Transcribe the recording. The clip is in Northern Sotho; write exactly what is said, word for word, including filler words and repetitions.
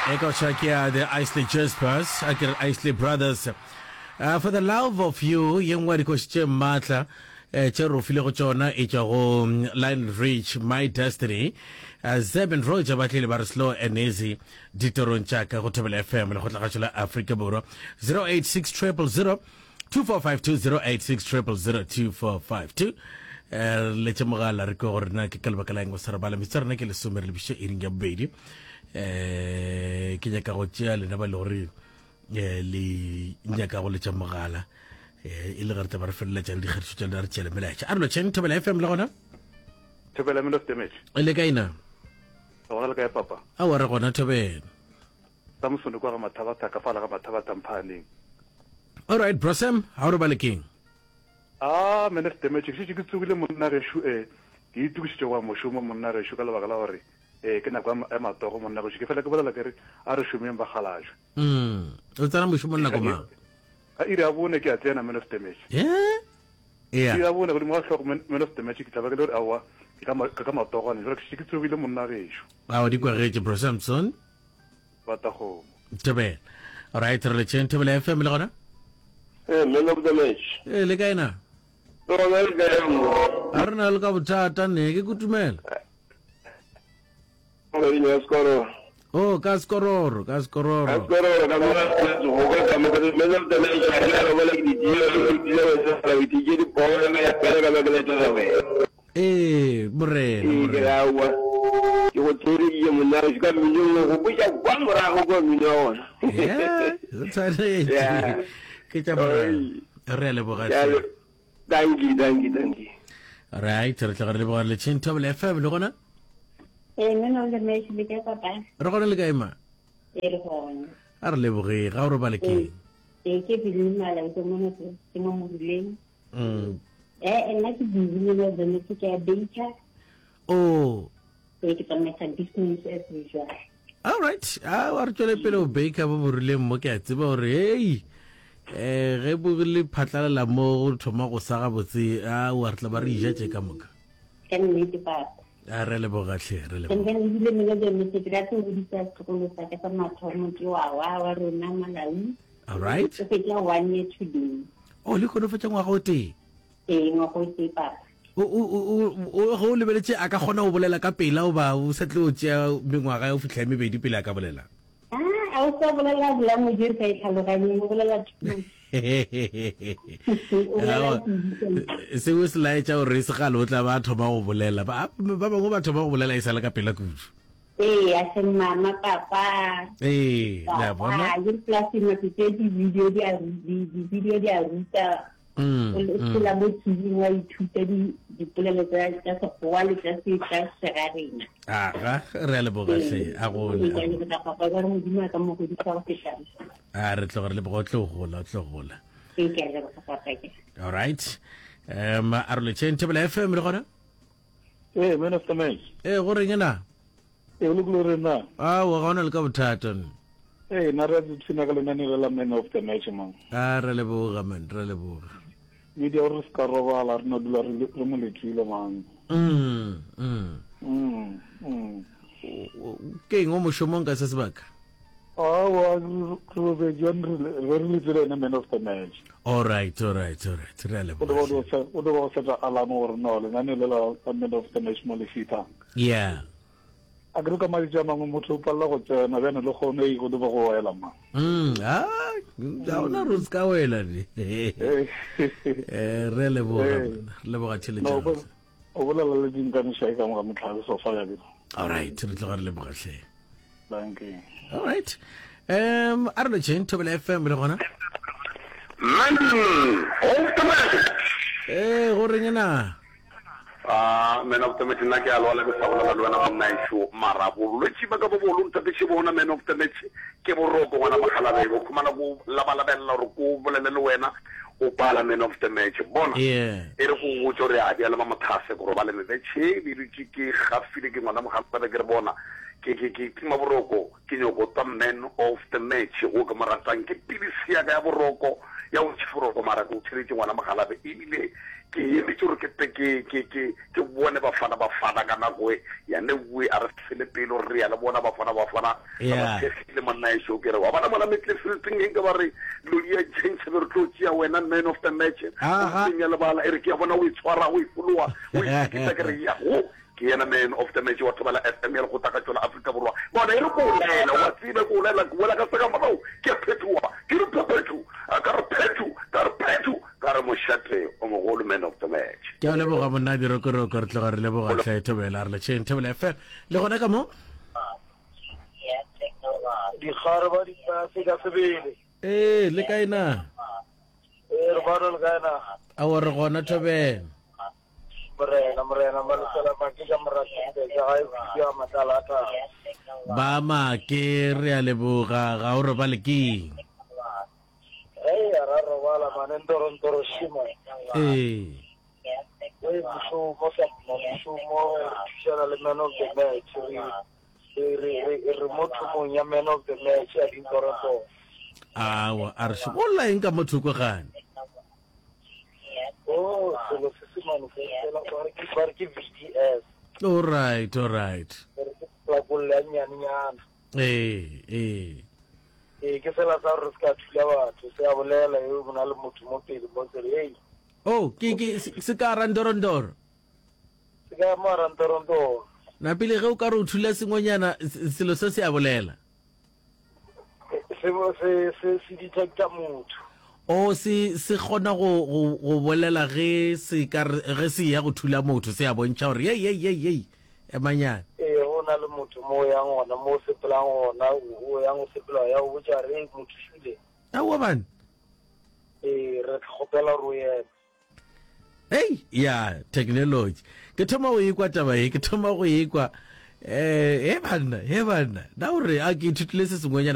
E ka tšha ke ya The Isley Jaspers, a ke re Isley Brothers. Uh, for the love of you, ye nngwe ya dikoši tše maatla eh, tše re o filego tšona e tšwa go mm, Lionel Rich, My Destiny. Uh, Zeb and Roger ba tlile ba re slow and easy ditorong tša ka go Thobela F M lekgotlakgašo la Afrika Borwa. zero eight six triple zero two four five two zero eight six triple zero two four five two. Eh, re letše mogala re kwe gore na ke ka lebaka la eng o sa re bala. Metsotso ya rena ke lesome re lebiše iring ya bobedi. Eh, ke nyaka go tšea lena ba le gore eh, le nyaka go letša mogala eh, e le ge re tla ba re feleletša le dikgatišo tša lena re tšeele melaetša. A re lotšheng Thobela F M le gona. Thobela Man of Damage. Le kae na? Re gona le kae papa? Aowa re gona Thobela. Samson kwa ga Mathabatha ka fala ga Mathabatha Mphaaneng. All right bro Sam, ha o robale keng? Ah Man of Damage, ke šetše ke tsogile monna gešo eh ke itokišitše go ya mošomo monna gešo ka lebaka la gore eh ke nako ya matogo monna gešo ke fela ke bolela ke re a re šomeng bakgalajwe. Mm. O tsena mošomong nako mang? Ka iri ya bone ke a tsena Man of Damage. Yeah. Yeah. Iri ya bone godimo ga hlogo Man of Damage ke tla ba ke le gore aowa ke ka ke ka matogwane jwale ke šetše ke tsogile monna gešo. Ao di kwagetše bro Samson. Batakgomo. Thobela. All right, re letšeng Thobela F M le gona. Eh, man of the match. Eh, le kae na? Le gona le kae mo? A re na le ka bothata ne, ke kutumela. Kgweding ya Sekororo. Oh, ka Sekororo, ka Sekororo. Ka Sekororo, ka mo go ka ka mo man of the match a ke re bona ke di tšea ke di tšea wa tsela ke di tšea di bona ya pele ka ba ke letela wena. Ee, morena, Ee, ke morena. re aowa, ke go theeleditše monna gešo ka mminong, o gopotša kwa morago kwa mmino wa gona. Yeah, o tshwanetše. Yeah. Ke tša morena. Oi. Re a leboga Ke a hle. le- Dankie, dankie, dankie. Right, re tloga re leboga re letšheng Thobela F M le gona. Ee, man of the match, le kae papa? Re gona le kae ma? Ee, re gona. A re leboge, ga o robale keng? Ee, ke Billy Malaika mona ke ke mo Moruleng. Mm. Eh, nna ke busy man of the match, ke a baker. Oh. Ee, ke tsamaisa business as usual. All right. A wa re tšwele pele o baker bo Moruleng mo, ke a tseba gore hey eh ge bo le phatlalela mo go thoma go sa gabotse, a wa re tla ba re ija tše ka moka. Ka nnete papa. A re leboga hle, re leboga. And then ebile man of the match ke rata go godisa setlogolo sa ka sa mathomo ke wa wa wa rona Malawi. All right. O fetša one year today. Oh, le kgone fetša ngwaga o tee. Ee, ngwaga o tee papa. O, o, o, o, o, ge o lebeletše a ka kgona go bolela ka pela goba o sa tlo tšea mengwaga ya go fihla e mebedi pele a ka bolela? Ah, a o sa bolela language e re sa e tlhaloganyeng, o bolela too much. O bolela kudu. Seo se laetša gore e se kgale o tla ba a thoma go bolela. Ba, ba bangwe ba thoma go bolela e sa le ka pela kudu. Ee, a se mama, papa. Ee, le a bona. Papa, ke plus nako tse di-video di a ru-, di, di-video di a ruta. Mm, O le- mm. phela mo T V wa ithuta di-, dipolelo tsa, tsa Sekgowa le tsa se-, tsa segarena. Aga, re a leboga hle, a gole, Ee, a ke a gole. leboga papa, ka re Modimo a ka mo godisa go feta. A re tloga re leboga, o tlo gola, o tlo gola. Ee, ke a leboga papa, ke. All right. Um, a re letšeng Thobela F M le gona? Ee, man of the match. Ee, go reng na? Ee, o lokile re na. Aowa, ga ona le ka bothata. Ee, nna re a ipshina ka lenaneo la Man of the Match, man. A re leboga, man, re leboga. Media gore re se ka robala, re no dula re le, re mo letile, man. Mm, mm. Mm, mm. Ke eng o mošomong ka se sebaka? Aowa, re robetše, re re re letile ene Man of the Match. All right, all right, all right. Re a leboga. O do ba o do ba o seta alarm gore no lenaneo le la Man of the Match mo le fitha. Yeah. A ke re ka matšatši a mangwe motho o palela go tsena bjane le kgono e go do ba go wela ma. Mm, ah, ga ona re se ka wela ne. Eh, re leboga, Eh. re leboga tšhelete. No, o o bolela le dinkaniša e ka moga motlhabe sofa ya ke. All right, re tloga re leboga hle. Thank you. All right. Um, a re lotšheng Thobela F M le gona. Man of the match. Eh, go reng na? Ah, man of the match, nna ke a lwala ke sa bolela le wena monna ešo, mara bolwetši ba ka bo bogolo ntate bona man of the match ke boroko ngwana mogalabe, o khumana ko labalabella gore ko bolele le wena o pala man of the match. Bona, Yeah. e re go botse gore a bjale ba mothase ko robale mebetšhe, be dutše ke gafile ke ngwana mogalabe ke re bona ke ke ke tima boroko ke nyoko twa man of the match go ke mo ratang ke pilisi ya ka ya boroko ya go tšha boroko mara ke o tšheletše ngwana mogalabe ebile Ke emetše gore ke tle ke, ke, ke, ke bone Bafana Bafana ka nako e. Ya ne we, a re fele pelo, re ya le bona Bafana Bafana. Re ba Yeah. thekgile monna ešo. Ke re, wa bona mola midfielding e nka ba re lo di a change, be re tlo tšea wena man of the match. Aha. O senya lebala, e re ke a bona o e tshwara, o e fologa, o e sekisa, ke re ya go. Ke yena man of the match wa Thobela F M ya Lekgotlakatšo la Afrika Borwa. Bona, e re ko o laela, wa tseba, ko o laela, ke boela ka seka morago, ke a phethoga, ke re phephetho, ka re phetho, ka re phetho, ka re mošate o mogolo man of the match. Ke a leboga monna Dirokoroko, re tloga re leboga hle Thobela, re letšheng Thobela F M. Le gona ka mo? Dikgare ba dipase ka sebele. Ee, le kae na? Ee, re bana le kae na? Aowa, re gona Thobela. Morena, Morena, Malesela Make ka Moratende, ka gae Phuti ya Matlala a Thaba. Ba Make, re a leboga, ga o robale keng? Hei, a ra robala mane, ntorontoro shima. Ee. Ee, mošomo sa mma, mošomo, re thušana le man of the match, re, re, re, re, re mo thomong ya man of the match ya dintorontoro. Awa, a re šomo. O lla eng ka mo thoko gane? Oh, selo se se mane se fela, ba re ke, ba re ke V D S. All right, all right. Ba re ke plakolle ya nnyane-nyana. Ee, ee. Ee, ke sela sa gore se ka thula batho, se a bolela eo bona le motho mo pele mo se re, hey. Oh, ke, ke, se, se ka randorondoro. Se ka mo randorondoro. Na pele ge o ka re o thula sengwenyana, selo se se a bolela? Se, se, se, se detecta motho. O se, se kgona go, go, go bolela ge se ka re, ge se ya go thula motho, se a bontšha gore, yei, yei, yei, yei, emanyana. Ee, go na le motho mo o yang gona, mo o sepelang gona, o yang go sepela, ya go botša re, motho šule. Aowa bana. Ee, re kgopela gore o eme. Hei, ya, technology. Ke thoma go ikwa taba ye, ke thoma go ikwa. Eh, he banna, he banna. Na o re, a ke ithutile se sengwenyana.